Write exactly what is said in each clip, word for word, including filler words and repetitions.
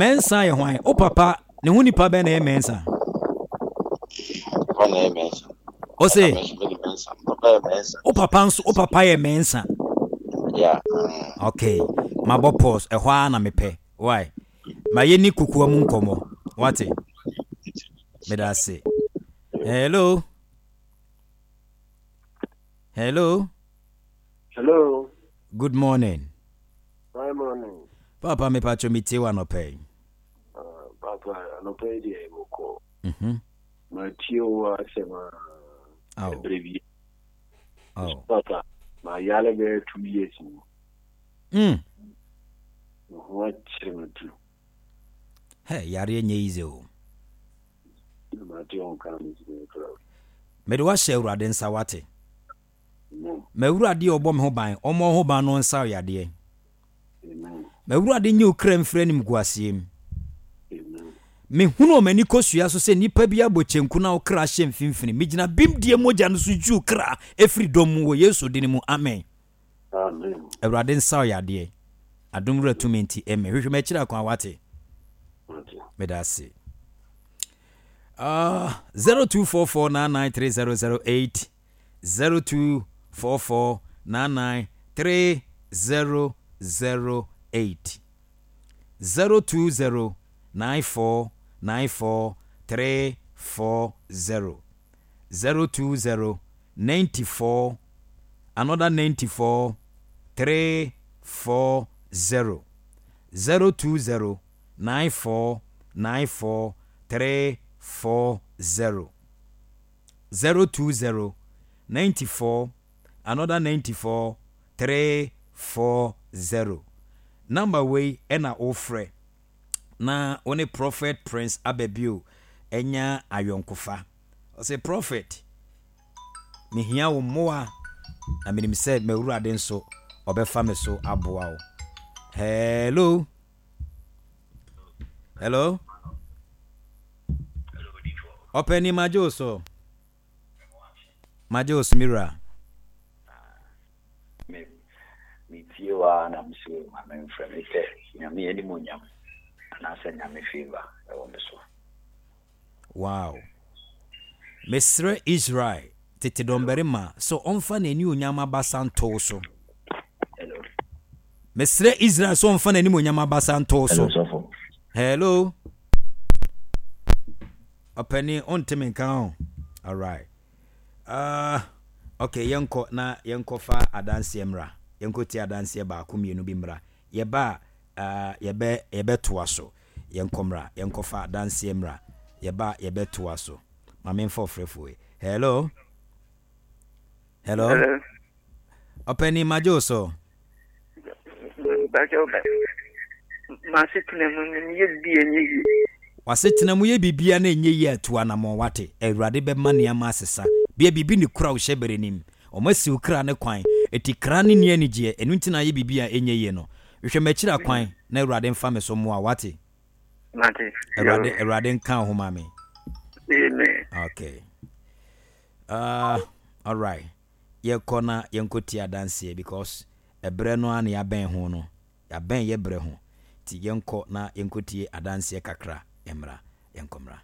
Mɛnsa yɛ hwan? Wo papa ne ho nipa bɛn na ɛyɛ Mɛnsa? Papa na ɛyɛ Mɛnsa. O se? Ɛna me nso mede Mɛnsa. Papa yɛ Mɛnsa. Wo papa nso, wo papa yɛ Mɛnsa. Yeah. Mm. Okay. Mabɔ pause. Ɛhɔ ara na mepɛ. Why? Ma yɛni kokoa mu nkɔmmɔ. Wate? Meda ase. Hello. Hello. Hello. Good morning. Good morning. Papa mepatwo metie wo anɔpa yi. Uh, Papa, anɔpa yi deɛ bɔkɔ. Mhm. Matie wo asɛm a Aw. ɛberɛ bi. Aw. Papa, mayale bɛyɛ two years ni. Mm. Me ho akyere me tu. Hey, yareɛ nyɛ easy o. Na mate wo nka me gyina kra. Mede wahyɛ Awurade nsa wate. Amen. M'Awurade a ɔbɔ me ho ban, ɔmmɔ wo ho ban na ɔnsa wo yadeɛ. Amen. M'Awurade nyi wo kra mfiri animguaseɛ mu. Amen. Mehunu wɔ m'ani kosua so sɛ nnipa bi abɔ kyenku na wo kra hyɛ mfimfini. Megyina bemdie mogya no so yi wo kra firi dɔm mu wɔ Yesu din mu. Amen. Amen. Awurade nsa wo yadeɛ. Adom wura tumi nti, amen. Hwehwɛ m'akyiri akwan wate. Mate. Meda ase. Uh, zero two four four nine nine three zero zero eight zero two four four nine nine three zero zero eight zero two zero nine four nine four three four zero zero two zero ninety four another ninety four three four zero zero two zero nine four nine four three four zero zero two zero ninety four another ninety four three four zero number wei ɛna wofrɛ na wo ne Prophet Prince Ababio anya ayɔnkofa. Ɔsɛ Prophet, mehia wo mmoa na menim sɛ m'Awurade nso ɔbɛfa me so aboa wo. Hello. Hello. Ɔpɛni magye wo so. Magye wo so me wura. Me metie wo ara na mese ma memfrɛ mepɛ Nyame animuonyam anaasɛ Nyame favour ɛwɔ me so. Wow. Mesrɛ Israel tete dɔmbarima sɛ ɔmfa n'anionyam abasa nto wo so. Hello. Mesrɛ Israel sɛ ɔmfa n'animuonyam abasa nto wo Hello so. sɔfo. Hello. Ɔpɛni ɔnte me nka ho. Alright. Uh, okay, yɛnkɔ na yɛnkɔfa adanseɛ mmra. Yɛnkɔ tie adanseɛ baako mmienu bi mmra. Yɛba a uh, yɛbɛ yɛbɛtoa so. Yɛnkɔ mmra. Yɛnkɔfa adanseɛ mmra. Yɛba a yɛbɛtoa so. Ma memfa ɔfrɛfoɔ yi. Hello. Hello. Hello. Ɔpɛni magye wo so. Bàjẹ́ ọbẹ̀. M'asetena mu no meyɛ biribi a ɛnyɛ yie. W'asetena mu yɛ biribiara na ɛnyɛ yie a tu anammɔn wate. Awurade bɛma nneɛma asesa. Bia biribi ne kura wo hyɛ bere nim. Ɔma si wo kra ne kwan. Eti kra ne nni anigyeɛ. Ɛno nti na ayɛ biribi a ɛnyɛ yie no. Hwehwɛ m'akyiri akwan na Awurade mfa me so mmoa wo wate. Mate. Awurade Awurade nka wo ho ma me. Amen. Okay. Uh, all right. Yɛkɔ na yɛnkɔ tie adanseɛ because ɛberɛ no ara na yɛabɛn ho no. Yɛabɛn yɛ berɛ ho. Nti yɛnkɔ na yɛnkɔ tie adanseɛ kakra mmra. Yɛnkɔ mmra.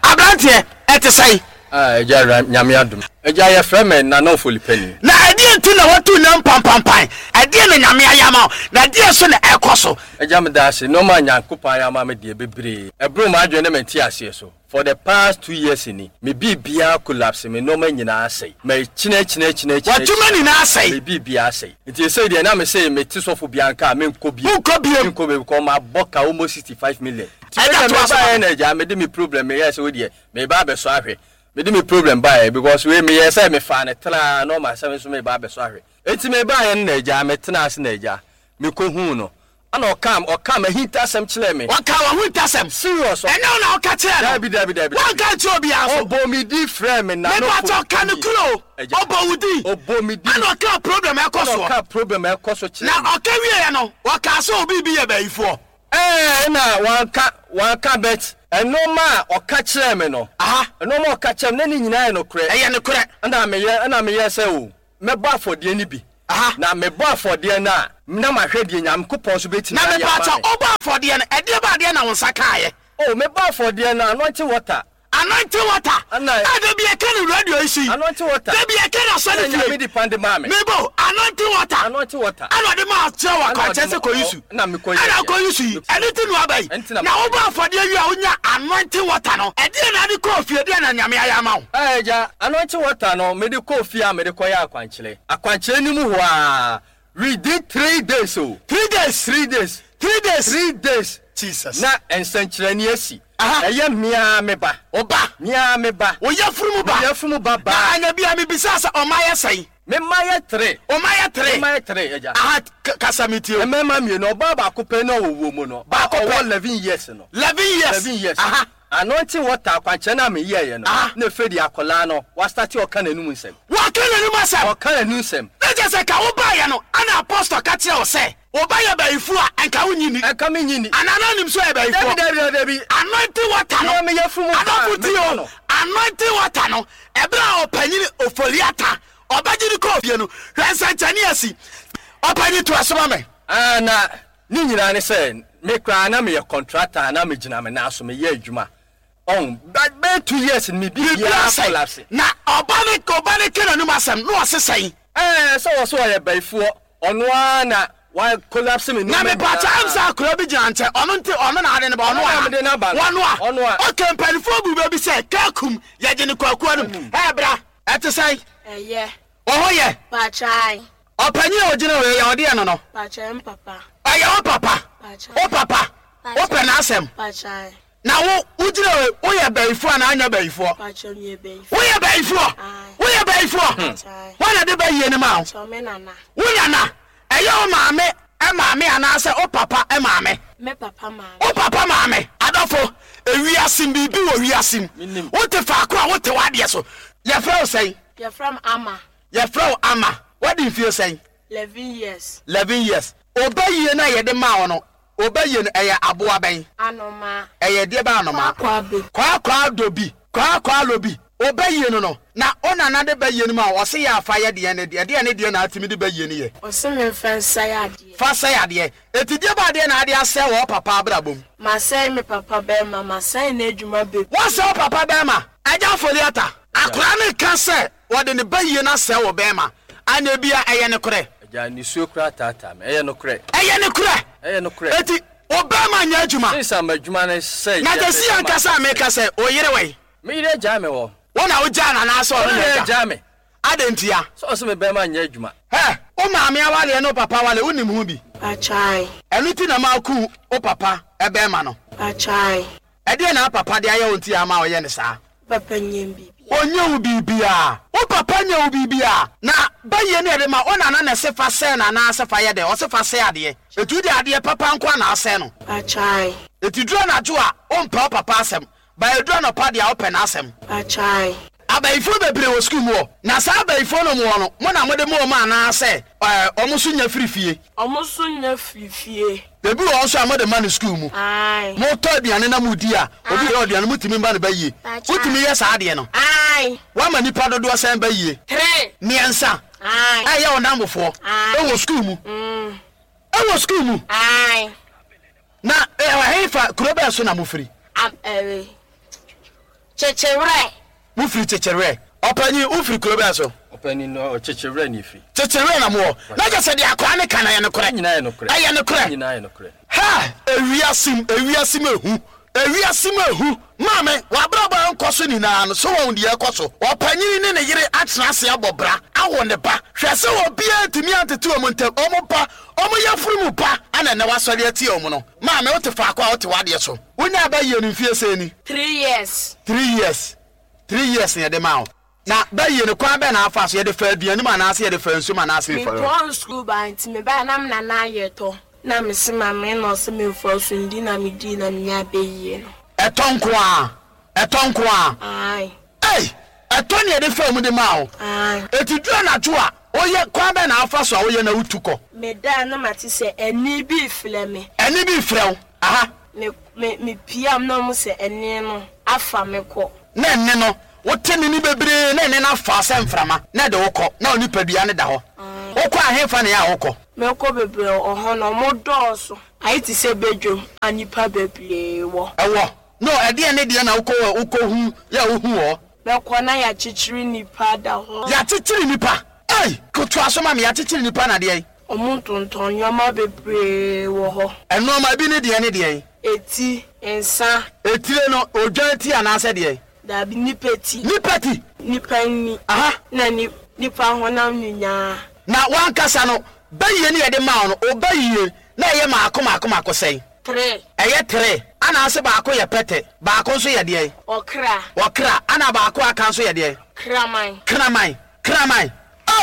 Aberanteɛ, ɛte sɛn? Ah, Agya, Nyame adom. Agya, yɛfrɛ me Nana Ofolipani. Na ɛdeɛn nti na woatu nnam pampampan? Ɛdeɛn na Nyame ayɛ ama wo, na ɛdeɛn nso na ɛrekɔ so? Agya, meda ase. Nnoɔma a Nyankopɔn ayɛ ama me deɛ, bebree. Ɛboro m'adwene ne me nteaseɛ so. For the past two years ni, me biribiara collapse, me nnoɔma nyinaa asɛe. Makyinakyinakyinakyina. W'adwuma nyinaa asɛe? Me biribiara asɛe. Nti seesei deɛ na mese mete sɔfo biara nka a, menkɔ bio. Wonkɔ bio? Menkɔ bio because mabɔ ka almost sixty five million. Nti Ɛda me deɛ toa so ma mebaeɛ me. na agya, mede me problem meyɛɛ sɛ wo deɛ, meba abɛsɔ ahwɛ. Mede me problem baeɛ because wei meyɛɛ sɛ mefaa no tenaa normal sɛ me nso meba abɛsɔ ahwɛ. Enti mebaeɛ no na agya, metenaa ase na agya, mekɔhuu no. Ɛna ɔkaa ɔkaa m'ahintasɛm kyerɛɛ me. Ɔkaa w'ahintasɛm? Serious. Ɛnyɛ wo na woka kyerɛɛ no? Dabi dabi dabi. Woanka ankyerɛ obiara nso? Ɔbɔɔ me din frɛɛ me na no Mepakyɛw ka nokorɛ o. Agya. Ɔbɔɔ wo din? Ɔbɔɔ me din. Ɛna ɔkaa problem a ɛkɔ Ɛna soɔ? ɔkaa problem a ɛkɔ so kyerɛɛ Na me. ɔka wieɛ no, ɔkaa sɛ obi bi yɛ bayifoɔ? Ɛɛ ɛna wanka wanka but ɛnoɔma a ɔka kyerɛɛ me no. Aha. Ɛnoɔma a ɔka kyerɛɛ me na ne nyinaa yɛ nokorɛ. Ɛyɛ nokorɛ. Ɛna meyɛ ɛna meyɛɛ sɛ o mɛbɔ afɔdeɛ no bi. Aha. Na mebɔ afɔdeɛ no a, na mahwɛ deɛ Nyankopɔn so bɛtumi Na ayɛ mepa ama kyɛ me. wobɔ afɔdeɛ no, ɛdeɛ ba adeɛ na wo nsa kaeɛ? Oh, mebɔ afɔdeɛ no, anointing water. Anointing water. Ana- A da bi ɛka no radio yi so yi. Anointing water. Da bi ɛka no asɔre Ɛna Nyame fie. di pan de maa me. Mebo, anointing water. Anointing water. Ɛna ɔde maa kyerɛ wɔ Ɛna ɔde akwankyerɛ sɛ ma- kɔ yi su. na mekɔ yi Ɛna yɛ. kɔ yi su yi. Ɛno ti na waba yi. Ɛnti na Na wobɔ afɔdeɛ wie a wonya anointing water no. Ɛdeɛ na ade kɔɔ fie, deɛ na Nyame ayɛ ama wo? Ɛɛ gya, anointing water no, mede kɔɔ fie a mede kɔyɛ akwankyerɛ. Akwankyerɛ no mu hɔ a, within three days o. Three days. Three days. Three days. Three days. Jesus. Na nsɛnkyerɛnne asi. Aha. Ɛyɛ mmea me ba. Ɔba. Mmea me ba. Wo yafunu mu ba. Me yafunu ba Na ba. anya bia mebisa sɛ ɔma yɛ sɛn? Me mma yɛ three. Ɔma yɛ three. Me mma yɛ three, agya. Aha, k- kasa mi tie o. Mmarima mmienu, ɔbaa baako pɛ na ɔwɔ wuo mu no. Baako pɛ. Ɔwɔ eleven years no. Eleven years. Eleven years. Aha. Anointing water akwankyerɛ no a meyɛeɛ no. Aha. Na efe de akwadaa no, wasate ɔka n'anum nsɛm. Wɔka n'anim asɛm. Ɔka n'anum nsɛm. Na kyerɛ sɛ ka wobaeɛ no, ana apostle ka kyerɛ wo sɛ woba yɛ bayifoɔ a ɛnka wonyi ni. Ɛnka menyi ni. Anaa na nim so yɛ Dabi bayifoɔ. dabi dabi dabi. Anointing water no. Na me yafunu mu ba, Adɔfo tie meka o. no. Anointing water no, ɛberɛ a ɔpanyini Ofori-Atta ɔbɛgye ne kɔɔ fie no, hwɛ nsɛnkyɛnne asi. Ɔpanyin to asoma me. Ah, na ne nyinaa ne sɛ me koraa na meyɛ contractor na megyina me nan so meyɛ adwuma. Ɔn, but bɛyɛ two years no me Biribiara biribiara sɛe. collapse. Na ɔba ne ɔba ne ka n'anim asɛm na ɔse sɛn? Ɛɛ, sɛ wɔ so ɔyɛ bayifoɔ, ɔno ara na wa collapse me Na nneɛma mepa kyɛ nyinaa. ɛm sɛ akora bi gyina nkyɛn, ɔno nti ɔno na ade ne ba, ɔno Ɔno na a mede no aba no. Ɔno a. Ɔno a. Okay, mpanimfoɔ bu bɛ bi sɛ kaakum yɛgye ne kwakuo no mu. Ɛɛ bra, ɛte sɛn? Ɛyɛ. Wo ho yɛ? Pakyɛe. Ɔpanyin a ogyina hɔ yi, yɛ ɔdeɛ no no. Pakyɛe mpapa. Ɛyɛ wo papa. Pakyɛe. Wo papa. Wopɛ n'asɛm. Pakyɛe. Na wo wogyina hɔ yi, woyɛ bayifoɔ anaa anyɛ bayifoɔ? Pakyɛ meyɛ bayifoɔ. Woyɛ bayifoɔ? Aye. Woyɛ bayifoɔ? Pakyɛe. Wɔn na de bayie no ma wo? Pakyɛ me nana. Wo nana, ɛyɛ wo maame maame anaasɛ wo papa maame? Me papa maame. Wo papa maame. Adɔfo, ewiase biribi wɔ wiase mu. Menim. Wote faako a wote w'adeɛ so. Yɛfrɛ wo sɛn? Yɛfrɛ me Ama. Yɛfrɛ wo Ama. Wadi mfie sɛn? Eleven years. Eleven years. Ɔbɛyie no a yɛde maa wo no, ɔbɛyie no ɛyɛ aboa bɛn? Anoma. Ɛyɛ deɛ bɛ anoma? Kwakwa bi. Kwakwa dobi. Kwakwa lobi. Ɔbɛyie no no, na wo nana de bɛyie no ma wo, ɔse yɛ afa yɛ deɛ ne deɛ, deɛ ne deɛ na atumi de bɛyie no yɛ. Ɔse memfa nsɛe adeɛ. Fa sɛe adeɛ. Eti deɛ ba adeɛ na ade asɛe wɔ wo papa abrabɔ mu? Masɛe me papa bɛrima, masɛe n'adwuma bebree. Wɔsɛe wo papa bɛrima? Agya Ofori-Atta, akwaraa no ka sɛ wɔde ne bɛyie no asɛe wo bɛrima. Anyɛ bia ɛyɛ ne korɛ. Agya, nisuo koraa taataa me. Ɛyɛ nokorɛ. Ɛyɛ ne korɛ. Ɛyɛ nokorɛ. Eti wo bɛrima nyɛ adwuma. Since ama adwuma no sɛe. Na gyesi ankasa a meka sɛ wo yere wɔ yi. Me yere agyaa me wɔ. Wo na wogyaa no anaasɛ ɔno Ɔno na na agya? agyaa me. Adɛn ntia? Sɛ ɔsɛ me bɛrima nyɛ adwuma. Hɛ, wo maame awareɛ ne wo papa awareɛ, wonim ho bi? Pakyɛe. Ɛno nti na maaku wo papa ɛbɛrima no. Pakyɛe. Ɛdeɛ na papa de ayɛ wo nti ama ɔyɛ ne saa? Papa nyɛ biribi. Ɔnyɛ wo biribiaa. Wo papa nyɛ wo biribiaa. Na bɛyie no yɛde ma wo nana na ɛse fa sɛe no anaasɛ fa yɛ dɛ? Ɔse fa sɛe adeɛ. Ɛtu de adeɛ papa nko a na asɛe no. Pakyɛe. Ɛti duru anadwo a, wompɛ wo papa asɛm. Ba ɛduru anɔpa deɛ a wopɛ n'asɛm. Pakyɛe. Abayifoɔ bebree wɔ sukuu mu hɔ. Na saa abayifoɔ no mu hɔ no, mo na mode mo wɔn anaasɛ ɛɛ ɔmo nso nya firi fie? Ɔmo nso nya firi fie. Ebi wɔ hɔ nso a mode ma no sukuu mu. Ae. Motɔ aduane na modi a, obi yɛ aduane motumi ma no bɛyie. Pakyɛe. Wotumi yɛ saa adeɛ no. Ae. Woama nipa dodoɔ sɛn bɛyie? Three. Mmiɛnsa. Ae. Ɛyɛ wo namfofoɔ. Ae. Ɛwɔ sukuu mu. Mm. Ɛwɔ sukuu mu. Ae. Na ɛwɔ hefa kuro bɛn so na mofiri? Am ɛwe. Kyekyerɛ. Mofiri Kyekyerɛ. Ɔpanyin, wofiri kuro bɛn so? Ɔpanin no ɔkyekyerɛ ne firi. Kyekyerɛ na mowɔ. Na kyerɛ sɛ deɛ akoa ne ka no ɛyɛ nokorɛ. Nyinaa yɛ nokorɛ. Ɛyɛ nokorɛ. Nyinaa yɛ nokorɛ. Ha! Ewiase mu, ewiase mu ehu. Ewiase mu ehu. Maame, w'abrabɔ a nkɔ so nyinaa no, so wɔn deɛ ɛkɔ so. Ɔpanyin ne ne yere atena ase abɔ bra, awo ne ba. Hwɛ sɛ obiara ntumi antete wɔn ntam. Wɔn ba, wɔn yafunu mu ba, ana ɛnɛ wasɔre atie wɔn no. Maame, wote faako a wote w'adeɛ so. Wonya aba yie no mfie sɛn ni? Three years. Three years. Three years na yɛde ma wo. Na bɛyie no kwan bɛn na afa so? Yɛde fa aduane mu anaasɛ yɛde fa nsuo mu anaasɛ yɛde fa. Mepɔn sukuu ba nti mebaeɛ na me nana ayɛ tɔ. Na mese maame na ɔsɛ memfa so ndi na medii na menya bɛyie no. Ɛtɔ nko a. Ɛtɔ nko a. Ae. Ei! Ɛtɔ ne yɛde fa mu de ma wo. Ae. Eti duru anadwo a, woyɛ kwan bɛn na afa so a woyɛ na wotu kɔ? Medaa na mate sɛ ɛnne bi frɛ me. Ɛnne bi frɛ wo. Aha. Me me mepiam na ɔmo sɛ ɛnne no afa me kɔ. Na ɛnne no, wote ne ni bebree na ɛnne no afa sɛ mframa na ɛde wo kɔ na wo nipadua no da hɔ. Ae. Wokɔ ahemfa ne yɛ a wokɔ? Mɛkɔ bebree wɔ hɔ na ɔmo dɔɔso. Ayɛ te sɛ badwam a nnipa bebree wɔ. Ɛwɔ. No, ɛdeɛ ne deɛ na wokɔ wokɔ hu yɛ a wohu wɔ? Mɛkɔ na yɛakyekyere nnipa da hɔ. Yɛakyekyere nnipa? Ei! Toa so ma me, yɛakyekyere nnipa na deɛn? Ɔmo tontɔn nneɛma bebree wɔ hɔ. Nneɛma bi ne deɛn ne deɛn? Eti, nsa. Etire no, odwan ti anaasɛ deɛn? Dabi, nipa ti. Nipa ti? Nipa ni. Aha. Na ni, nipa honam nyinaa. Na wankasa no, bɛyie ne yɛde maa wo no, ɔbɛyie na ɛyɛ maako maako maako sɛn? Three. Ɛyɛ three. Ana ase baako yɛ pɛtɛ, baako nso yɛ deɛn? Ɔkra. Ɔkra. Ana baako aka nso yɛ deɛn? Kraman. Kraman. Kraman.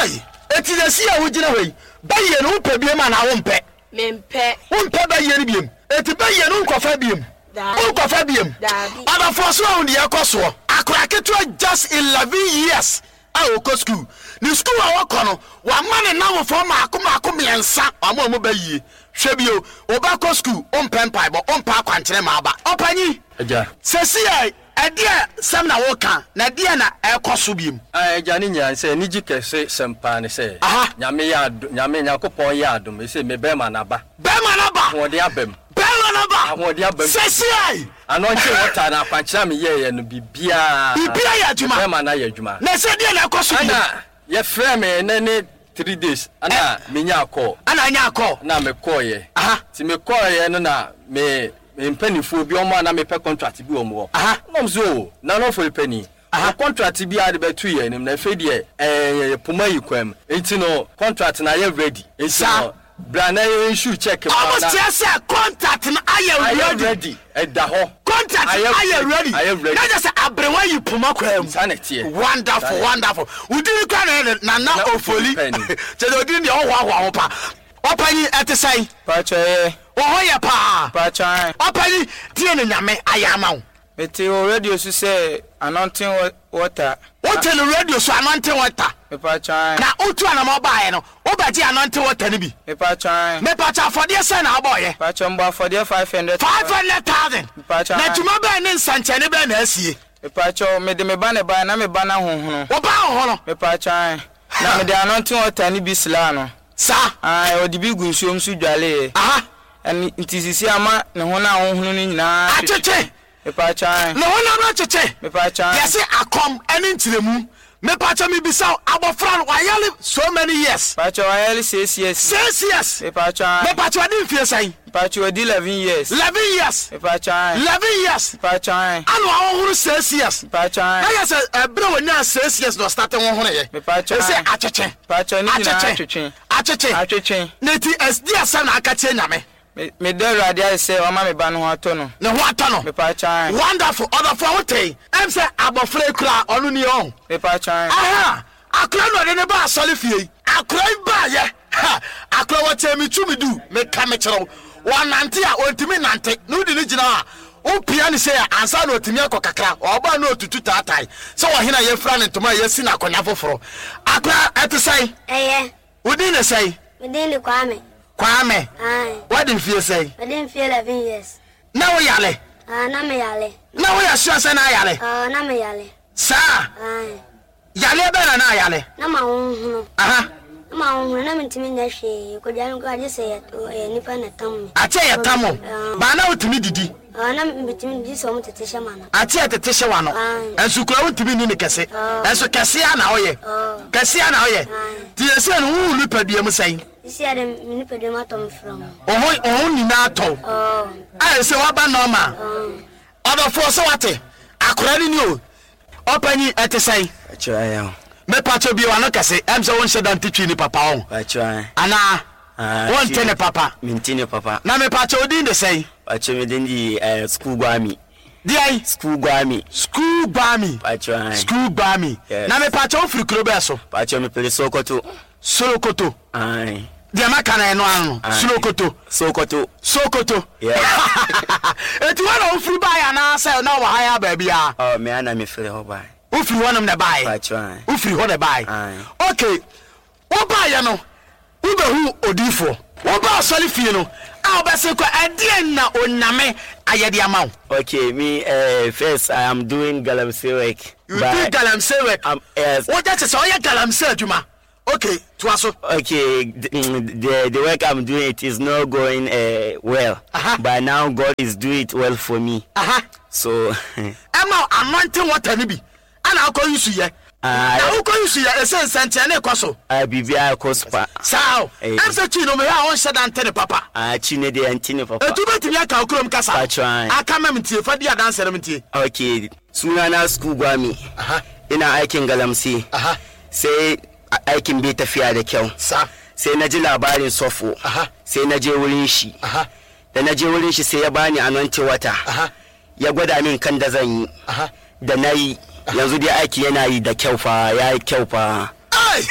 Ei! Eti sɛsi a wogyina hɔ yi, bɛyie no wopɛ biem anaa wompɛ? Mempɛ. Wompɛ bɛyie no biem? Eti bɛyie no wonkɔfa biem? Daabi. Wonkɔfa biem? Daabi. Ɔdɔfoɔ so ahu deɛ ɛkɔ soɔ. Akora ketewa just eleven years a ɔkɔ school. Ne school a ɔkɔ no, wama ne nnamfoɔ maako maako mmiɛnsa, wama ɔmo bɛyie. Hwɛ bio, wobɛkɔ school, wompɛ mpaebɔ, wompɛ akwankyerɛ ma aba. Ɔpanyin, Agya. sɛsi a ɛdeɛ sɛm na woka, na ɛdeɛ na ɛkɔ so biem? Ah, agya ne nyinaa sɛ anigye kɛse sɛm paa ne sɛ Aha. Nyame yɛ adom, Nyame Nyankopɔn yɛ adom, ɛsɛ me bɛrima n'aba. Bɛrima n'aba. Ahoɔden aba mu. Bɛrima n'aba. Ahoɔden aba mu. Sɛsi a Anointing water na akwankyerɛ a meyɛeɛ no biribiara. Biribiara yɛ adwuma. Bɛrima no ayɛ adwuma. Na ɛsɛ deɛ na ɛkɔ so biem? Ana yɛfrɛ me ɛnɛ ne three days ana menya akɔ. Ana anya akɔ. Na mekɔɔyɛ. Aha. Nti mekɔɔyɛ no na me me mpanimfoɔ bi ɔmo a na mepɛ contract bi wɔ mo hɔ. Aha. Na ɔmo sɛ o Nana Ofori Panin. Aha. O contract bi a de bɛto yɛn anim na afei deɛ ɛɛ poma yi kwan mu. Nti no contract na ayɛ ready. Nti Saa. no bra na yɛn issue check ma Ɔmo na kyerɛ sɛ contract no ayɛ ayɛ ready. ready ɛda hɔ. Contract no ayɛ ready. Ayɛ ready. Na kyerɛ sɛ aberewa yi poma kwan mu. Saa na ɛteɛ. Wonderful, Saa na ɛteɛ. wonderful. Wodin kora na yɛ Nana Nana Ofori. Ofori Panin. Kyerɛ sɛ odin deɛ ɔhoahoa ho pa. Ɔpanyin ɛte sɛn? Pacho yɛ. Wɔ hɔ yɛ paa. Pacho an. Ɔpanyin tie ne Nyame ayɛ ama wo. Mete wɔ radio so sɛ anointing water. Wote no radio so anointing water. Mepacho an. Na wotu anamɔ baeɛ no, wobɛgye anointing water no bi. Mepacho an. Mepacho afɔdeɛ sɛn na wobɔɔyɛ? Pacho mbɔ afɔdeɛ five hundred. Five hundred thousand. Mepacho Na an. dwuma bɛn ne nsɛnkyɛnne bɛn na asie? Mepacho mede me ba ne ba na me ba na honhono. Wo ba honhono? Mepacho an. Na mede anointing water ne bi sra no. Saa. An, ɔde bi gu nsuom so dwaleeɛ. Aha. Ɛne nti sisi ama ne ho na honhono no nyinaa atwetwe. Mepacho an. Ne ho nam no atwetwe. Mepacho an. Yɛse akɔm ɛne nkyerɛmu. Mepacho mebisa abɔfra no wayale so many years. Pacho wayale six years. Six years. Mepacho an. Mepacho ɔde mfie sɛn? Mepacho ɔdi eleven years. Eleven years. Mepacho an. Eleven years. Mepacho an. Ana ɔhohoro six years. Mepacho an. Na yɛ sɛ ɛberɛ wɔnya six years na ɔstarte hohoro yɛ. Mepacho an. Ɛsɛ atwetwe. Mepacho ne nyinaa atwetwe. Atwetwe. Atwetwe. Na ti ɛdi asɛm na aka kyerɛ Nyame. Me da Awurade ayɛ sɛ ɔma me ba no ho atɔ no. Ne ho atɔ no. Mepacho an. Wonderful. Ɔdɔfoɔ wo tee. Ɛm sɛ abɔfra yi kura ɔno ni ɔn. Mepacho an. Aha. Akora no ɔde ne ba asɔre fie yi. Akora yi ba yɛ. Ha. Akora wɔkyɛ me tu me du. Meka me kyerɛw. Wɔnante a ɔntumi nante. Na wodi ne gyina a wopia ne sɛ ansa na ɔtumi akɔ kakra. Ɔba na ɔtutu taatae. Sɛ ɔhene a yɛfira ne ntoma a yɛsi no akonnwa foforɔ. Akora ɛte sɛn? Ɛyɛ. Wodin ne sɛn? Medin de Kwame. Kwame. Aye. Wadi mfie sɛn? Mede mfie eleven years. Na wo yale? Ah, na me yale. Na wo yɛ sure sɛ na yale? Ah, na me yale. Saa. Aye. Yale bɛn na na yale? Na ma honhono. Aha. Na ma honhono na mentumi nyɛ hwee. Kodwa no agye sɛ yɛ nipa na tam me. Ate yɛ tam o. Ba na wotumi didi. Ah, na metumi didi sɛ ɔmo tete hyɛ ma no. Ate yɛ tete hyɛ wa no. Ɛnso kura wotumi ni ne kɛse. Ɛnso kɛse a na ɔyɛ. Kɛse a na ɔyɛ. Ti yɛ sɛ no wo nipadua mu sɛn? Sisi a de me nipadua mu atɔ me fra mu. Ɔho ɔho nyinaa atɔ. A sɛ waba normal. Ɔdɔfoɔ sɛ wate. Akora ni ni o. Ɔpanyin ɛte sɛn? Akyerɛ yɛn. Mepacho bi wano kɛse. Ɛm sɛ wonhyɛ da nte ni papa ɔn. Akyerɛ. Anaa wonte ne papa. Mente ne papa. Na mepacho odin de sɛn? Akyerɛ me din di eh school guami. Deɛn? School guami. School guami. Akyerɛ. School guami. Na mepacho wofiri kuro bɛɛ so? Akyerɛ me pere Sokoto. Sokoto. Aye. Deɛ maka na ɛno ano. Sokoto. Sokoto. Sokoto. Yes. Eti wɔn na wofiri baeɛ anaasɛ na wɔ ha yɛ baabi a? Oh, me ana me firi hɔ baeɛ. Wofiri hɔnom na baeɛ? Akyerɛ. Wofiri hɔ na baeɛ? Okay. Wobaeɛ no, wobɛhu odiifoɔ. Woba asɔre fie no, a wobɛse kɔ ɛdeɛn na Onyame ayɛ de ama wo? Okay, me uh, first I am doing galamsey work. You do galamsey work? Um, yes. Wogye kyɛ sɛ ɔyɛ galamsey adwuma. Okay, toa so. Okay, the, the the work I'm doing it is not going uh, well. Uh-huh. But now God is doing it well for me. Uh-huh. So Ɛma anointing water no bi ana akɔ yi su yɛ. Ah, Na wokɔ yi su yɛ ɛsɛ nsɛnkyerɛnne kɔ so. uh, biribiara kɔ so pa. Saa o. Eh. Ɛm sɛ Twi no mehwɛ a wonhyɛ da nte ne papa. Ah, Twi ne deɛ nte ne papa. Etu bɛtumi aka wo kurom kasa. Patron. Aka ma mentie fa di adanse no mentie. Okay, sunana school gwami. Aha. Ina aikin galamsey. Aha. Sai a- aikin bai tafiya da kyau. Sa. Sai na ji labarin sofo. Aha. Sai na je wurin shi. Aha. Da na je wurin shi sai ya bani anointing water. Aha. Ya gwada min kan da zan yi. Aha. Da na yi yanzu dai aiki yana yi da kyau fa ya yi kyau fa. Ei!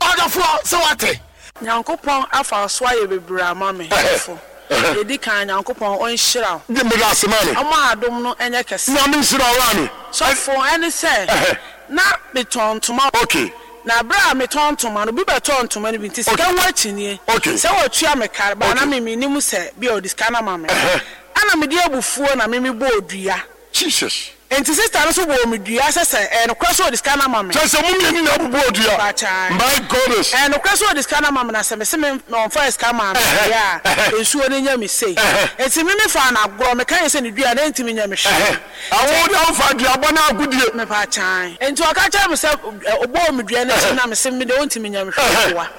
Ɔdɔfoɔ sɛ wate. Nyankopɔn afa so ayɛ bebree ama me fo. Yɛdi kan Nyankopɔn ɔnhyira wo. Meda ase ma me. Ɔma adom no ɛnyɛ kɛse. Nyame nhyira wo ame. Sɔfo ɛne sɛ na metɔn ntoma. Okay. Na bere a metɔn ntoma no, obi bɛtɔɔ ntoma no bi nti sika ho akyinnye. Okay. Sɛ wɔtua me kar ba na Okay. me menim sɛ bi a ɔde sika no ama me. Ɛna mede abufuo na me mebɔɔ dua. Jesus. Nti sista no nso bɔɔ me dua sɛ sɛ ɛyɛ nokorɛ sɛ ɔde sika no ama me. Kyerɛ sɛ mo mmienu na abobɔ dua. Pakyae. My goodness. Ɛyɛ nokorɛ sɛ ɔde sika no ama me na sɛ mese me na ɔmfaa sika maa me deɛ a, nsuo no nyɛ me sei. Nti me mefaa no agorɔ, meka yɛ sɛ ne dua no ɛntumi nyɛ me hwee. Awo de awofa duabɔ no agodie. Mepakyae. Nti ɔka kyerɛɛ me sɛ ɔbɔɔ me dua no akyi na mese me deɛ ɔntumi nyɛ me hwee boa.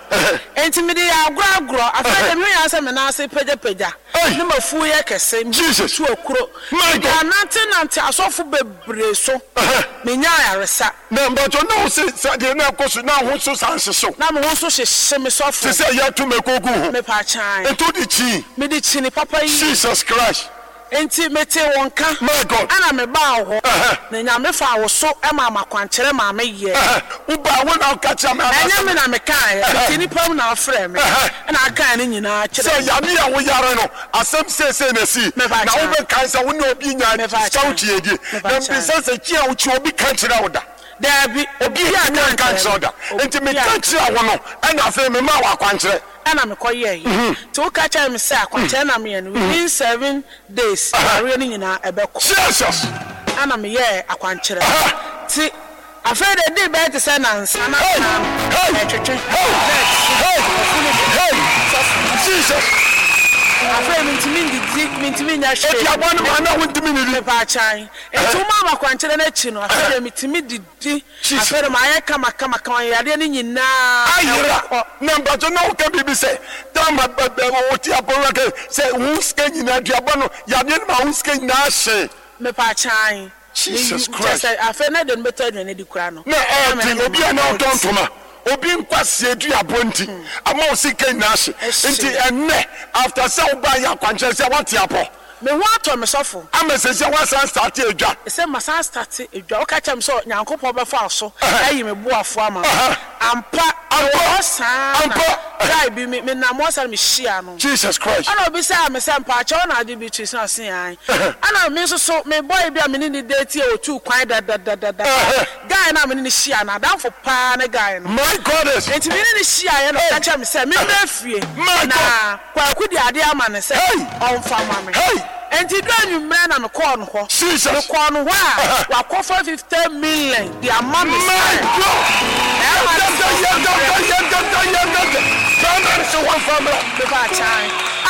Nti mede yɛ agorɔ agorɔ. Afei deɛ mehu yɛ sɛ me nan ase pagyapagya. Ne mafuo yɛ kɛse. Jesus. Tu akuro. My Mede God. anante nante asɔfo bebree so. Menya ayaresa. Na mbatɔ na wo se sɛ deɛ na ɛkɔ so na ho so san hyehyew. Na me ho nso hyehye me sɔfo. Te sɛ yɛto mako gu ho. Mepakyae. Nti wode kyii. Mede kyini papa yi. Jesus Christ. Nti mete wɔn ka. My God. Ɛna mebaa hɔ. Na Nyame fa wo so ɛma makwankyerɛ ma meyɛ. Wobaa wo na woka kyerɛ me anaasɛ Ɛnyɛ me na mekaeɛ. Mete nnipa mu na afrɛ me. Ɛna akae ne nyinaa kyerɛ Sɛ me. yame a woyare no asɛm seesei na si. Mepakyae. Na wobɛkae sɛ wo ne obi nya Mepakyae. sika wokyie die. Na Mepakyae. mbisa sɛ kyi a wokyi obi ka kyerɛ wo da. Daabi. Obi a nka nkyerɛ wo da. Nti meka kyerɛ wo no ɛna afei mema wo akwankyerɛ. Ɛna mekɔyɛɛ. Nti woka kyerɛ me sɛ akwankyerɛ na meyɛ no within seven days awareɛ no nyinaa ɛbɛkɔ. Jesus. Ɛna meyɛɛ akwankyerɛ. Nti afei de di bɛyɛ te sɛ nansa na na ɛtwetwe. Jesus. Afei mintimi ndidi, mintimi nya hwee. Eti aboa no ma na wontumi nnidi. Mepakyan. Nti woma ama akwankyerɛ no akyi no, afei de mitimi didi. Afei de maayɛ kama kama kama yadeɛ no nyinaa. Ayera. Na mpatɔ na woka biribi sɛ tama wote apɔwura kɛ sɛ wo sika nyinaa duabɔ no yadeɛ no ma wo sika nyinaa hye. Mepakyan. Jesus Christ. Kyerɛ sɛ afei na de no bɛtɔ aduane di kora no. Na ɛɛte obi a na ɔtɔ ntoma obi nkwaseɛ duabɔ nti ama wo sika nyinaa hye. Nti ɛnnɛ after sɛ wobaa yɛ akwankyerɛ sɛ woate apɔ. Me ho atɔ me sɔfo. Ama sɛ sɛ woasan start adwa. Sɛ masan start adwa. Woka kyerɛ me sɛ Nyankopɔn bɛfa wo so ayi me boafo ama me. Ampa. Ɛwɔ saa na guy bi me menam hɔ saa na mehyia no. Jesus Christ. Ɛna obisaa me sɛ mpaakyɛw na ade bi tui sɛ ɔse ae. Ɛna me nso so me boy bi a me ne ne date a otuu kwan dadadadada. Guy no a me ne ne hyia no adamfo paa ne guy no. My goodness. Nti me ne ne hyiaeɛ na ɔka kyerɛ me sɛ memmrɛ fie. Na Kwaku de ade ama no sɛ ɔmfa ma me. Nti dɔ anwummerɛ na mekɔɔ no hɔ. Mekɔɔ no hɔ a wakɔfa fifty million de ama me My sɛ God.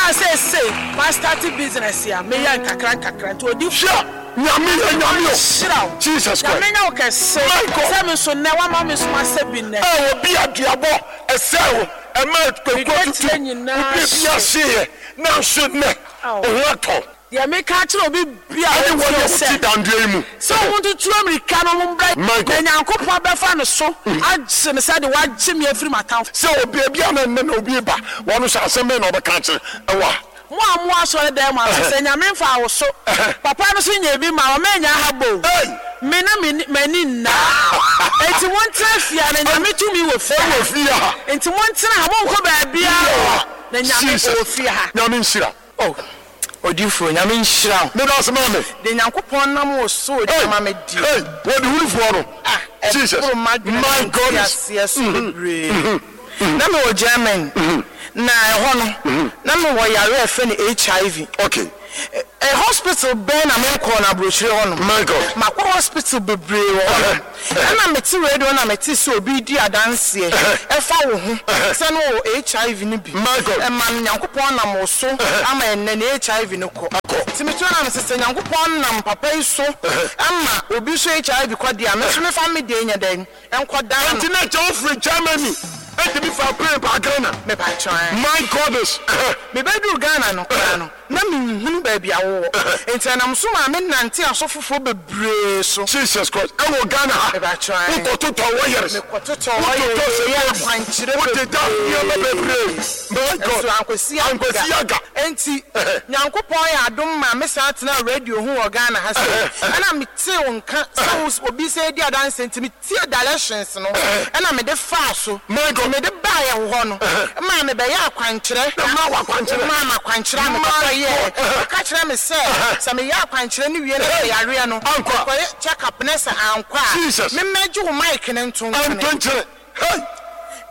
A sɛ ma start business a meyɛ nkakra nkakra nti odi Hwɛ, Nyame yɛ Nyame o. Hyira wo. Jesus Christ. Nyame nyɛ wo kɛse. My God. Sɛ me nso nnɛ wama me nso masɛ bi nnɛ. Ɛ obi aduabɔ ɛsɛ wo ɛma kwakuo tutu Mede nyinaa obi bi ahyeeɛ nanso nnɛ wo ho atɔ. Deɛ meka kyerɛ obi bia Ɛne wɔn a wɔtie sɛ wɔte dandeɛ yi mu. sɛ ɔmo ntutu amirika no ɔmo mbra My God. na Nyankopɔn bɛfa no so agye me sɛ de wagye me afiri m'atamfo. Sɛ obi ebi a na nnɛ na obi ba wɔn nso asɛm bɛn na ɔbɛka akyerɛ ɛwɔ a. Mo a mo asɔre dan mu ase sɛ Nyame mfa wo so. Papa no so nya bi ma ɔma nya ha bo. Me na me m'ani nna. Enti montena fie a na Nyame tumi wɔ fie. Ɛwɔ fie ha. Enti montena ha monkɔ baabiara. Na Nyame Jesus. wɔ fie ha. Nyame nhyira. Oh. Odifo Nyame nhyira wo. Meda ase ma me. De Nyankopɔn nam wo so Hey. ama me di. Hey, wɔde hunufoɔ no. Ah, Jesus. ɛboro m'adwene My ne goodness. nteaseɛ so bebree. Na mewɔ German. Na ɛhɔ no, na mewɔ yare a ɛfrɛ no H I V. Okay. Ɛ hospital bɛn na menkɔɔ no aburokyire hɔ nom? My God. Makɔ hospital bebree wɔ hɔ nom. Ɛna mete radio na mete sɛ obi redi adanseɛ ɛfa wo ho sɛ na ɔwɔ H I V no bi. My God. Ɛma no Nyankopɔn nam wo so ama ɛnnɛ ne H I V no kɔ. Nti meto na mese sɛ Nyankopɔn nam papa yi so ama obi so H I V kɔ deɛ a, me nso mefa me deɛ nyɛ dɛn nkɔdaa no. Nti na kyɛ wofiri Germany ɛtumi fa plane ba Ghana. Mepakyɛw. My goodness. Mebɛduru Ghana no koraa no, na menhunu baabi a wowɔ. Nti ɛnam so maa me nante asɔfofoɔ bebree so. Jesus Christ. Ɛwɔ Ghana ha. Mepakyɛw. Wokɔtotɔ wires. Mekɔtotɔ wires. Wototɔ Yɛ akwankyerɛ Wodeda nneɛma bebree. My God. Nso ankwasi Ankwasi aga. Nti Nyankopɔn yɛ adom maa me san tena radio ho wɔ Ghana ha sɛ. Ɛna metee wo nka sɛ wo obi sɛ edi adanse nti metie directions no. Ɛna mede faa so. My God. Mede baeɛ wɔ hɔ no. Maa mebɛyɛ akwankyerɛ. Na maa wɔ akwankyerɛ. Maa me akwankyerɛ a mekɔkɔ yɛɛ. Ɔka kyerɛ me sɛ sɛ meyɛ akwankyerɛ no wie na sɛ yareɛ no, Ankɔ. mekɔyɛ check up na sɛ ankɔ a, Jesus. memmɛgye wo mic no nto nkyene. Nto nkyene. Hey.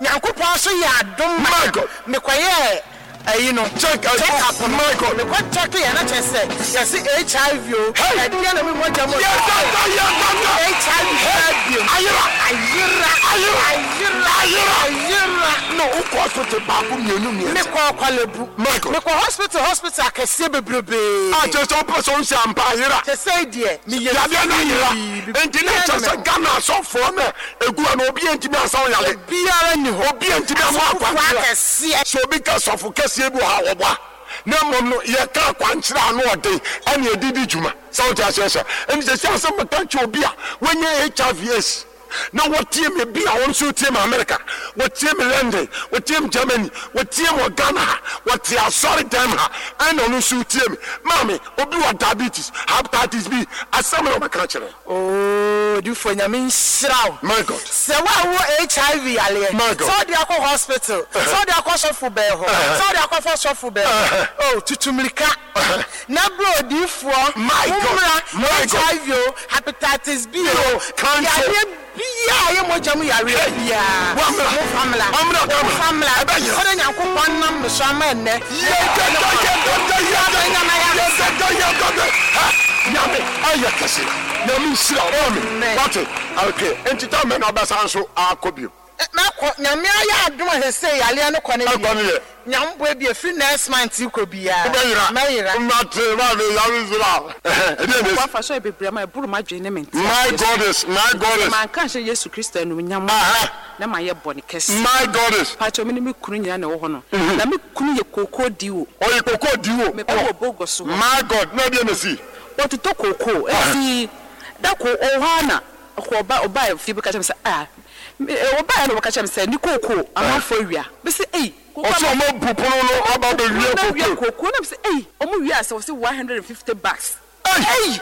Nyankopɔn so yɛ adom ma My God. mekɔyɛɛ ayi no. Check check up no. My God. Mekɔ check yɛ na kyerɛ sɛ yɛse H I V o. Hey. Ɛdeɛ na me mogya mu. Yes, yes, yes, yes. H I V Hey. bio. Ayera. Ayera. Ayera. Ayera. Ayera. Ayera. No, wokɔ hospital baako mmienu mmiɛnsa. Mekɔ Korle Bu. My God. Mekɔ hospital hospital akɛseɛ bebrebee. A kyerɛ sɛ wopɛ sɛ wohyɛ ampa ayera. Kyerɛ sɛ deɛ meyɛ Yadeɛ no ayera. free. Enti na kyerɛ sɛ Ghana asɔfoɔ no egu hɔ no obi antumi ansa wo yale. Obiara nni hɔ. Obi antumi amma Asɔfofoɔ akwankyerɛ. akɛseɛ. Sɛ obi ka sɔfo kɛseɛ bi wɔ ha a wɔboa. Na mmom no yɛka akwankyerɛ ano ɔden ɛne yɛde di dwuma. Sɛ wote aseɛ sɛ ɛnti sɛ sɛ asɛm bɛka kyerɛ obi a wanya H I V AIDS na wɔtie me bi a wɔn nso tie me America, wɔtie me London, wɔtie me Germany, wɔtie me wɔ Ghana ha, wɔte asɔre dɛm ha, ɛna ɔno nso tie me. Maame, obi wɔ diabetes, hepatitis B, asɛm na ɔbɛka kyerɛ. Oh, difo Nyame nhyira wo. My God. Sɛ woawo H I V yareɛ, My God. sɛ wode akɔ hospital, sɛ wode akɔ sɔfo bɛɛ hɔ, sɛ wode akɔfa sɔfo bɛɛ hɔ, oh, tutu mmirika. Na bro odiyifoɔ, My God. wommra My God. H I V o, hepatitis B o, Cancer. yareɛ biaa yɛ mogya mu yareɛ biaa. Wamra. Momfa mmra. Wamra Ghana. Momfa mmra. Ɛbɛyera. Sɛdeɛ Nyankopɔn nam me so ama ɛnnɛ. Yɛdada, yɛdada, yɛdada, yɛdada, yɛdada. Ha, Nyame ayɛ kɛse. Nyame nhyira wo. Amen. Wate? Okay. Enti ta mɛ na ɔbɛsan so akɔ bio. Mɛkɔ. Nyame ayɛ adom a sɛsɛ yareɛ no kɔ no Ɛkɔ no yɛ. Nyame boa bi efiri next month kɔ biara. Wobɛyera. Mɛyera. Mate, maame, Nyame nhyira wo. Ɛdeɛ na esi. Wafa so bebree ama ɛboro m'adwene ne me nte My aseɛ so. goddess, my goddess. Manka nhyɛ Yesu Kristo animuonyam Aha. na mayɛ bɔne kɛse. My goddess. Pakyɛ me ne me kunu nyinaa na ɛwɔ hɔ no. Na me kunu yɛ kookoo diwo. Ɔyɛ kookoo diwo. Mekɔ wɔ Bogo so hɔ. My God, na ɛdeɛ na esi. Wɔtotɔ kookoo. Eti da ko ɔwɔ hɔ a na ɔkɔ ɔba ɔba fie bɛka kyerɛ me sɛ ah ɔba yɛ na ɔbɛka kyerɛ me sɛ ne kookoo amanfoɔ awia. Bɛsɛ ei. Ɔsɛ ɔmo bu pono no aba bɛwie kookoo. Kookoo na sɛ ei ɔmo wie asɛ wɔsɛ one hundred and fifty bags. Ei!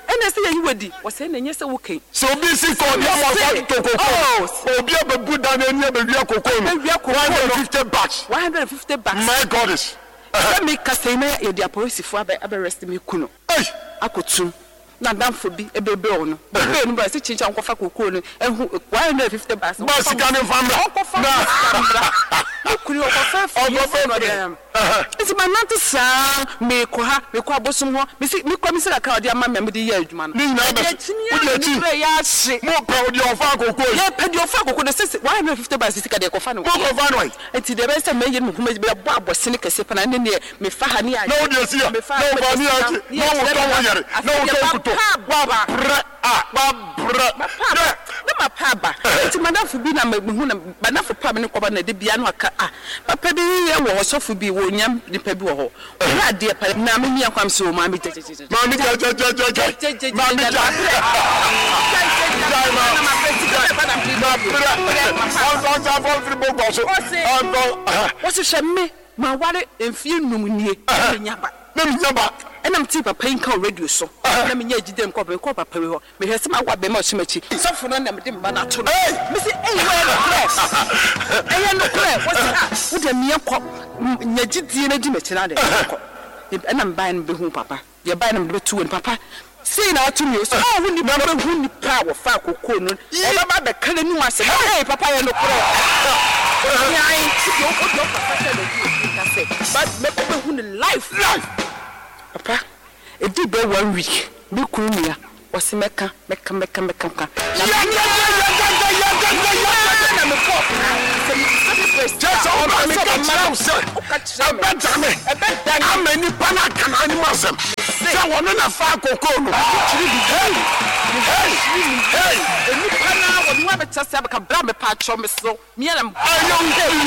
Ɛna sɛ yɛyi wadi wɔsɛ na ɛnyɛ sɛ wokan. Sɛ obi si kɔ ɔde ama ɔsa to kookoo. Obi abɛbu dan n'ani abɛwia kookoo no. Abɛwia kookoo no. one hundred and fifty bags. one hundred and fifty bags. My goddess. Sɛ mi kasa yi na yɛde apolisifoɔ abɛ abɛrɛst mi kunu. Ei! Akotum. Na adamfo bi ebebe ɔno. Bebe no ba sɛ kyinkyin nkɔfa kookoo no ehu one hundred and fifty bags. Ba sika ne nfa mmra. Ɔnkɔfa sika mmra. Ne kunu ɔkɔfa fie Ɔkɔfa na ɔde fie. ayam. Nti ma nante saa meekɔ ha meekɔ abosom hɔ mesi mekɔ mesi kakra ɔde ama me a mede yɛ adwuma no. Ne nyinaa bɛ Ɛde akyi ne wode ara akyi. ne berɛ yɛ ahye. Mo pɛ ɔde ɔfa kookoo yi. Yɛpɛ deɛ ɔfa kookoo no sɛ one hundred and fifty bags sika deɛ kɔfa no. Mo kɔfa no yi. Nti deɛ ɛbɛyɛ sɛ mɛyɛ no me ho mɛbɔ abɔsene kɛseɛ pa na ne neɛ mefa ha ne ayɛ. Na wode asi ha. Mefa Na ha wofa ne akyi. Na wotɔ wo yɛre. Na wotɔ nkuto. Wabrɛ a wabrɛ. Mapa na mapa aba. Nti madamfo bi na mehu na madamfo pa me ne kɔba na de bia no aka ah papa bi yɛ wɔ ɔsɔfo bi wɔ nyam nipa bi wɔ hɔ. Ɔyɛ adeɛ pa na me nua kwam sɛ o maame gyegyegyegye. Maame gyegyegyegye. Maame gya. Gyae ma. Mabrɛ. Ɔnsɔnsɔ afɔmfiri bɔbɔ so. Ɔnsɔ. Wɔhyehyɛ me ma ware mfie num nie na menya ba. Na menya ba. Ɛna mete papa yi nka wɔ radio so. Na menya gyidie nkɔ papa kɔ papa yi hɔ. Mehwɛ sɛ mawo abɛma ɔhyɛ m'akyi. Sɔfo no na mede mma no ato no. Mese ei wɔyɛ nokorɛ. Ɛyɛ nokorɛ. Wɔse ah wode meɛ kɔ nya gyidie no di m'akyi na ade kɔ. Ɛna mebaeɛ no bɛhu papa. Yɛbaeɛ no mede bɛto wɔ ni papa. Sei na ato mi o. Sɛ ɔho nipa bɛhu nipa a wɔfa kookoo no. Ɔbɛba bɛka n'anim asɛm. Ei papa yɛ nokorɛ. Nyan ti o o do papa sɛ na di ka sɛ but mɛkɔ bɛhu ne life. Life. Papa ɛdi bɛ one week me kunu nua ɔse mɛka mɛka mɛka mɛka ka. Na na mekɔ sɛ mebisa me first. Kyɛ sɛ woba meka kyerɛ wo sɛ ɛbɛdane ama nnipa no aka n'anim asɛm sɛ wɔno na fa kokoo no. Hey! Hey! Hey! Nnipa no a wɔne wɔabɛtena ase abɛka bra mepa akyɛw me so mea na Ɛyɛ wo kunu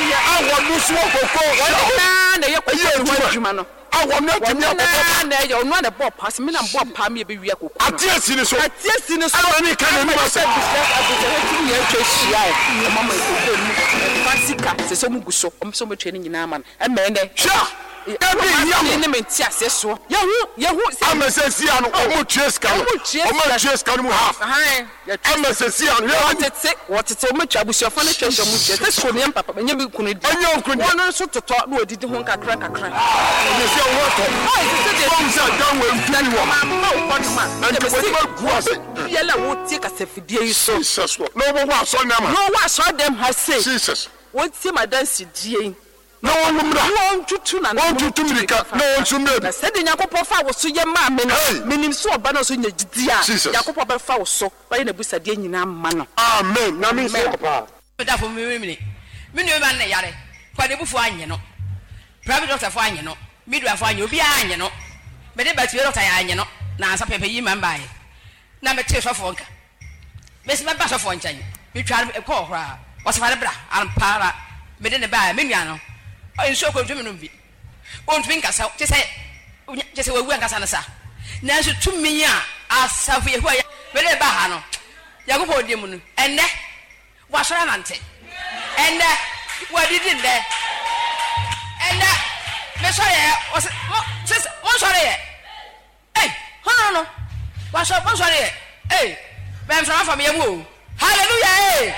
nua a wɔno so wɔ kokoo wɔne hyɛ naa na ɛyɛ ɛyɛ kokoo no ho adwuma adwuma no. a wɔno atumi Wɔne akɔbɔ naa na ɛyɛ ɔno a na ɛbɔɔ paa sɛ me na mbɔɔ paa me yɛbɛwia kokoo no. Ate asi ne so. Ate asi ne so. Ɛna ne ka n'anim Ama asɛm. sɛ abusua abusua tumi yɛ atwa ahyia ɛ ɔma ma kokoo no mu ɛfa sika sɛ sɛ ɔmo gu so ɔmo sɛ ɔmo atua ne nyinaa ma no ɛmɛ ɛnɛ. Hwɛ ebi hia mo. Ne me nte aseɛ soɔ. Yɛhu yɛhu sɛ. Ama sɛ sia no ɔmo tua sika no. Ɔmo tua Ɔmo sika. tua sika no mu half. Ahan. Yɛtua Ama sɛ sia no yɛ wɔtete wɔtete ɔmo atwa abusuafoɔ no atwa ahyia ɔmo tua sɛ sukuu no yɛ papa nyɛ bi kunu di. Ɛnyɛ wo kunu di. Wɔn nso totɔ na wɔdidi ho nkakra nkakra. Ɔmo sɛ ɔmo atɔ. Ɔyɛ sɛ deɛ. Wɔn sɛ dan wɔ ntumi wɔ ha. Mama wo kɔ nom a. Nti wɔde ma gu ase. Biara a wotie kasafidie yi so. Jesus Lord. Na wɔn wɔ asɔre nam ha. Na wɔwɔ asɔre dɛm ha sei. Jesus. Wɔtie m'adansedie yi. Na wɔn mmra. Na wɔn tutu na. Wɔn tutu mirika na wɔn nso mmra bi. Na sɛdeɛ Nyankopɔn fa wo so yɛ maa me no. Hey. Menim sɛ ɔba no nso nya gyidi a. Jesus. Nyankopɔn bɛfa wo so. Wɔyɛ n'abusadeɛ nyinaa ma no. Amen. Nyame nhyira wo paa. Medafo mi mi mi nua ba ne yare kwadebufoɔ anyɛ no, private doctor fo anyɛ no, midwife fo anyɛ, obiara anyɛ no. Mede ba tie doctor yɛ anyɛ no na ansa pɛpɛ yi ma mbaeɛ na metee sɔfoɔ nka mesi mɛba sɔfoɔ nkyɛn metwa no kɔɔ koraa ɔsɛ fa ne bra ampa ara mede ne baa me nua no nsuo kɔ ntumi nom bi ɔntumi nkasa kyɛ sɛ kyɛ sɛ wawu ankasa no sa nanso tumi a asafo Yehowa yɛ mede ne baa ha no Nyankopɔn di mu no ɛnnɛ wasɔre anante ɛnnɛ wadidi nnɛ ɛnnɛ mesɔre yɛ ɔsɛ mo sisi monsɔre yɛ ei hɔn no wasɔre monsɔre yɛ ei bɛnframa fam yɛ mu o hallelujah ei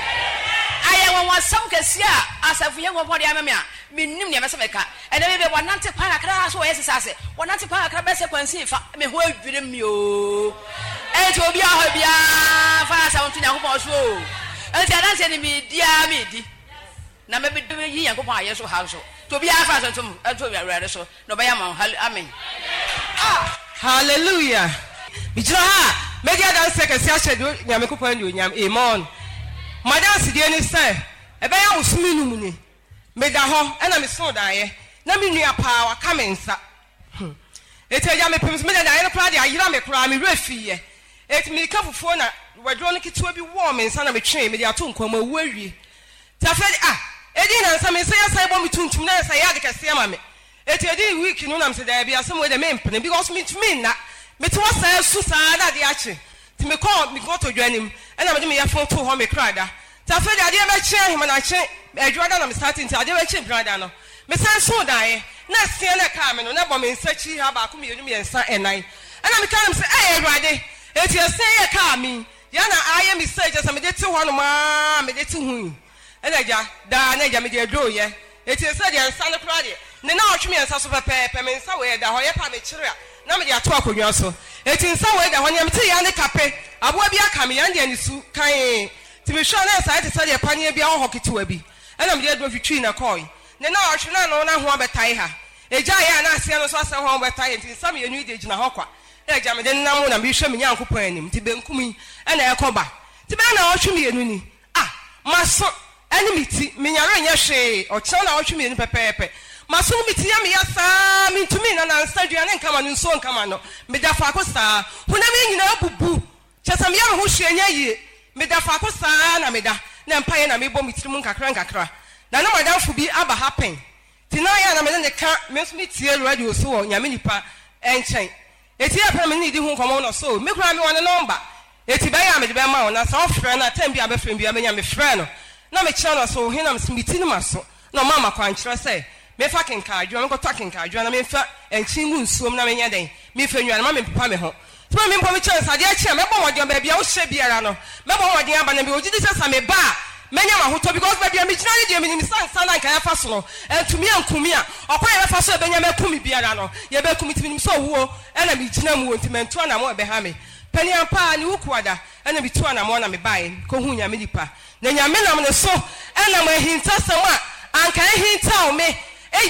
ayɛ wɔn kɛseɛ a asafo yɛ wɔn de ama me a menim nea mɛsɛ mɛka ɛnɛ bɛbɛ wɔnante kwan kakra so wɔyɛ sisa ase wɔnante kwan kakra bɛsɛ kwansin fa me ho adwiri mi o ɛnti obi ahɔ biara fa asɛm nto Nyankopɔn so o ɛnti adanseɛ ne medi a medi na mɛbɛyi Nyankopɔn ayɛ so ha nso nti obiara fa asɛm nto nto Awurade so na ɔbɛyɛ ama wo. Amen. Hallelujah. Megyina ha a mɛdi adanseɛ kɛseɛ ahyɛ deɛ Nyankopɔn anuonyam. Amen. M'adansedie ne sɛ ɛbɛyɛ abosome num ni meda hɔ ɛna mesoo daeɛ na me nua paa waka me nsa. Hmm. Eti agya mepem so meda daeɛ no koraa de ayera me koraa me werɛ fiiɛ. Eti mirika fufuo na waduro no ketewa bi wɔɔ me nsa na metwee mede ato nkwan mu awu awie. Nti afei de ah edi nansa me nsa yɛ san bɔ me tuntum na yɛ sɛ yɛ ade kɛseɛ ma me. Eti edi week no nam sɛ daabi asɛm wei de mempene because mentumi nna. Mete hɔ saa su saa na ade akye. Nti mekɔɔ me kɔtɔ anim ɛna mede me yɛfo too hɔ me kra da. Nti afei de adeɛ bɛkye ahemanakye adwuma da na me start nti adeɛ bɛkye mpena no. Mesan so daeɛ na asia na ɛkaa me no na bɔ me nsa kyi ha baako mmienu mmiɛnsa ɛnan. Ɛna meka no sɛ ɛyɛ Awurade eti asia yɛ kaa mi yɛ na ayɛ me sɛ kyɛ sɛ mede te hɔ nom aa mede te ho yi. Ɛna agya daa na agya mede aduro yɛ eti sɛ deɛ nsa no koraa deɛ ne na ɔtwe mmiɛnsa so pɛpɛɛpɛ me nsa wei ɛda hɔ yɛ pa mekyerɛ a na mede ato akonnwa so eti nsa wei da hɔ nea mete yɛ ne kape aboa bi aka me yɛn deɛ ne su kan nti mehwɛ na nsa te sɛ deɛ paneɛ bi awɔ hɔ ketewa bi ɛna mede aduro twitwi na kɔɔ ne na ɔtwe na no na ho abɛtae ha egya yɛ a na aseɛ no nso asɛ ho abɛtae nti nsa mmienu yi de gyina hɔ kwa na agya mede nam na mehwɛ me Nyankopɔn anim nti benkum yi ɛna ɛkɔ ba nti bɛyɛ na ɔtwe mmienu ni ah maso ɛne me ti menyare nyɛ hwee ɔkyerɛ na ɔtwe mmienu pɛpɛɛpɛ maso ne me ti yɛ meyɛ saa mentumi na nansa aduane nkama no nsuo nkama no meda faako saa honam yi nyinaa bubu kyɛ sɛ meyɛ me ho hwee nyɛ yie meda faako saa na meda na mpaeɛ na mebɔ me tirim nkakra nkakra na na madamfo bi aba ha pɛn nti na ayɛ a na mene ne ka me nso metie radio so wɔ Nyame nipa nkyɛn eti yɛ pɛ na mene ne di ho nkɔmmɔ no so me koraa mewɔ ne nɔmba eti bɛyɛ a mede bɛma wo na sɛ ɔfrɛ no a tɛm bi a bɛfrɛ bi a bɛnya mefrɛ no na mekyerɛ no so he na meti no ma so na ɔma ma kwankyerɛ sɛ mefa kenkaadwoa mekɔtɔ kenkaadwoa na memfa nkyin gu nsuom na menyɛ dɛn memfa nnuane ma mempepa me ho nti ma mempɔ mekyerɛ no sɛ adeɛ kye a mɛbɔ mmɔden baabi a wohyɛ biara no mɛbɔ mmɔden aba na mewɔ gyidi sɛ sɛ meba a mɛnya m'ahotɔ because baabi a megyina ne deɛ menim sɛ nsa na nka yɛfa so no ɛntumi ankumi a ɔkwan yɛbɛfa so ɛbɛnya mɛkumi biara no yɛbɛkumi nti menim sɛ owuo ɛna megyina mu wɔ nti mantu anamo ɛbɛha me Panin ampa ara ne wo kuada ɛna metu anamɔn na mebaeɛ mekɔhuu Nyame nipa na Nyame nam ne so ɛnam ahintasɛm a anka ahintaw me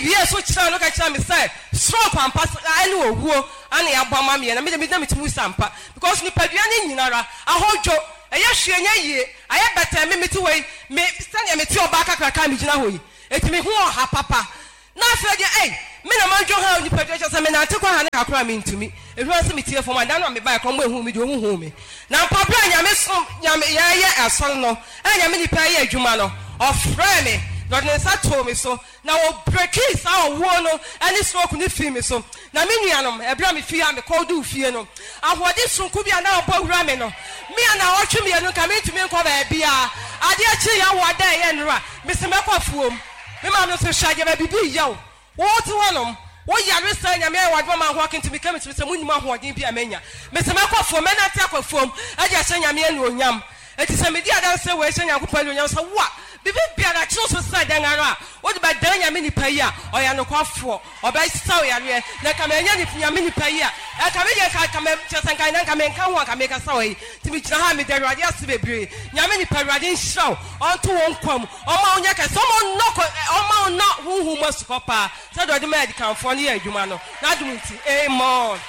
wiee so kyerɛɛ no ka kyerɛɛ me sɛ stroke ampa ɛne owuo ana yɛabɔ ama meɛ na medeɛ na metumi wu sɛ ampa because nipadua no nyinara ahodwo ɛyɛ hwee nyɛ yie ayɛ bɛtɛɛ me mete hɔ yi me sɛdeɛ mete ɔbaa kakraka a megyina hɔ yi ɛti me ho ɔha papa Na afei deɛ ei, me na madwo ha nipadua, kyerɛ sɛ menante kɔ ha ne ha koraa mentumi. Ɛhura sɛ metie fam a, da no a mebaeɛ koraa wɔanhu me deɛ wɔhuu me. Na ampa berɛ a Nyame som, Nyame, yɛreyɛ asɔre no, a Nyame nipa reyɛ adwuma no, ɔfrɛɛ me, na ɔde ne nsa too me so, na ɔbrekii saa ɔwuo no ne stroke no firii me so. Na me nuanom, ɛberɛ a mefii ha mekɔduu fie no, ahoɔden sononko bi a na abɔ awura me no, me a naawɔtwe mmienu nka mentumi nkɔ baabiara, adeɛ kyeeɛ awoɔ da a ɛyɛ nnora, mese mɛkɔ afuom. Me maame nso hwɛ adeɛ baabi bi yɛ wo wo te hɔ nom wo yare saa Nyame ayɛ wo adom ama wo ho akentum meka me tirim sɛ mo nim ahoɔden bi a manya mese mɛkɔ afuom mɛnante akɔ afuom de ahyɛ Nyame anuonyam enti sɛ medi adanseɛ wei hyɛ Nyankopɔn anuonyam sɛ wo a biribi biara kyere wo so sɛ dɛn ara a wode bɛdan Nyame nipa yi a ɔyɛ nokwafoɔ ɔbɛsa wo yareɛ na nka manya Nyame nipa yi a nka me deɛ nka nka mɛ kyerɛ sɛ nka nka menka ho a nka mekasa wɔ yi nti megyina ha a meda Awurade ase bebree Nyame nipa Awurade nhyira wo ɔnto wo nkwa mu Ɔma wo nyɛ kɛse, ɔma wo nnɔ kɔ, ɔma wo nnɔ honhom mu asukɔ paa, sɛdeɛ ɔde maa adikanfoɔ no yɛɛ adwuma no, n'adom nti. Amen.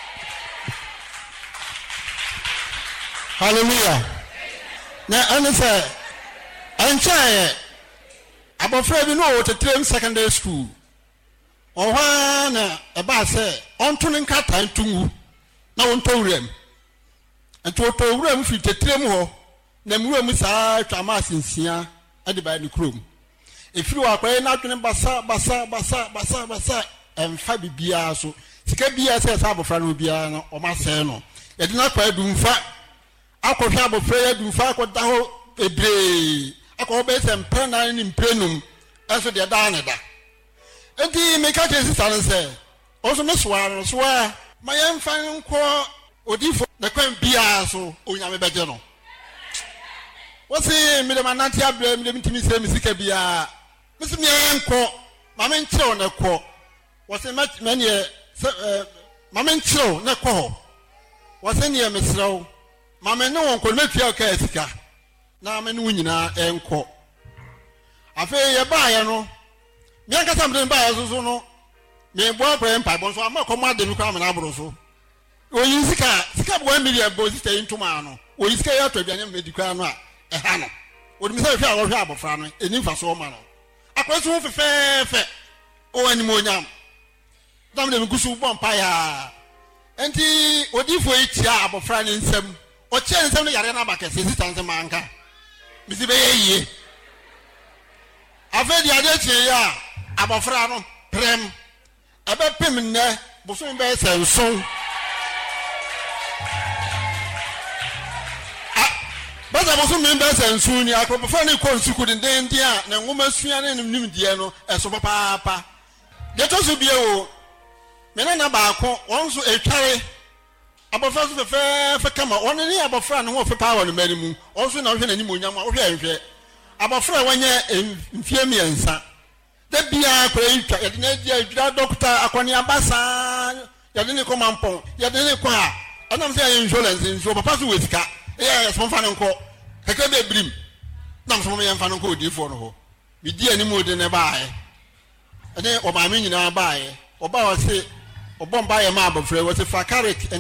Hallelujah. Na ɛne sɛ ɛnkyɛeɛ abɔfra bi na ɔwɔ Tetrem Secondary School. Ɔwɔ hɔ ara na ɛbaa sɛ ɔnto ne nkrataa nto ngu na ɔntɔ wuram. Nti ɔtɔɔ wuram firi Tetrem hɔ Nam nwura mu saa ara twaa miles nsia de baa ne kurom. Ɛfiri hɔ akwadaa yi n'adwene basa basa basa basa basa ɛmfa biribiara so. Sika biara sɛ ɛsɛ abɔfra no biara no wɔasɛe no. Yɛde no akɔ adumfa akɔhwɛ abɔfra yi adumfa akɔda hɔ bebree akɔ hɔ bɛyɛ sɛ mprɛ nan ne mprɛ num ɛnso deɛ daa ne da. Enti meka kyerɛ sista no sɛ Ɔno nso me soa no soa. Ma yɛmfa no nkɔ odiyifo na kwan biara so Onyame bɛgye no. Wose mede manante abrɛ mede mentumi nsɛe me sika biara. Mese meɛ nkɔ ma menkyerɛw na kɔ. Wɔse mɛneɛ sɛ eh, ma menkyerɛw na kɔ hɔ. Wɔse neɛ mesrɛ wo ma me ne wɔn nkɔ no mɛtua wo kaa sika na me ne wo nyinaa nkɔ. Afei yɛbaeɛ no me ankasa mede no baeɛ so so no meboa akɔyɛ mpaebɔ nso ama kɔm ade me koraa mena aboro so oyi sika sika bɔ one million bɔ sika yi ntoma ano oyi sika yi atɔ aduane medi koraa no a ɛha no onim sɛ hwɛ a wɔhwɛ abɔfra no ɛni mfasoɔ ma no akɔyɛ so ho fɛfɛɛfɛ ɔwɔ animuonyam na mede megu so bɔ mpaeɛ a nti odiifoɔ yi kyia abɔfra ne nsam ɔkyia ne nsam no yareɛ no aba kɛseɛ sista nsɛm anka mesi bɛyɛ yie Afei deɛ adeɛ kyeeɛ a, abɔfra no prɛm. Ɛbɛpem nnɛ bosome bɛyɛ sɛ nson. A, bɛsɛ bosome bɛyɛ sɛ nson ni, abɔfra no rekɔ nsuku dendeenden a ne nwoma sua ne ne nimdeɛ no ɛso papaapa. Deɛ ɛtɔ so bio, me nana baako, wɔn nso ɛtware. Abɔfra nso fɛfɛɛfɛ kama. Ɔno ne abɔfra a ne ho ɔfɛ paa wɔ ne mma no mu. Ɔno nso na wohwɛ n'animuonyam a, wohwɛ a nhwɛ. Abɔfra a wanya mfeɛ mmiɛnsa. Da biara akwadaa yi twa, yɛde no adi adwira dɔkota akɔneaba saa, yɛde no kɔ mampɔn, yɛde no kɔ ha. Ɛnam sɛ yɛyɛ insurance nso, papa so wɔ sika. Ɛyɛ yɛ sɛ momfa no nkɔ. Kakra bi abirim. Nam sɛ mom yɛmfa no nkɔ odiyifoɔ no hɔ. Medi anim de no baeɛ. Ɛne ɔmaame nyinaa baeɛ. Ɔbaa ɔse, ɔbɔ mpaeɛ ma abɔfra yi, ɔse fa carrot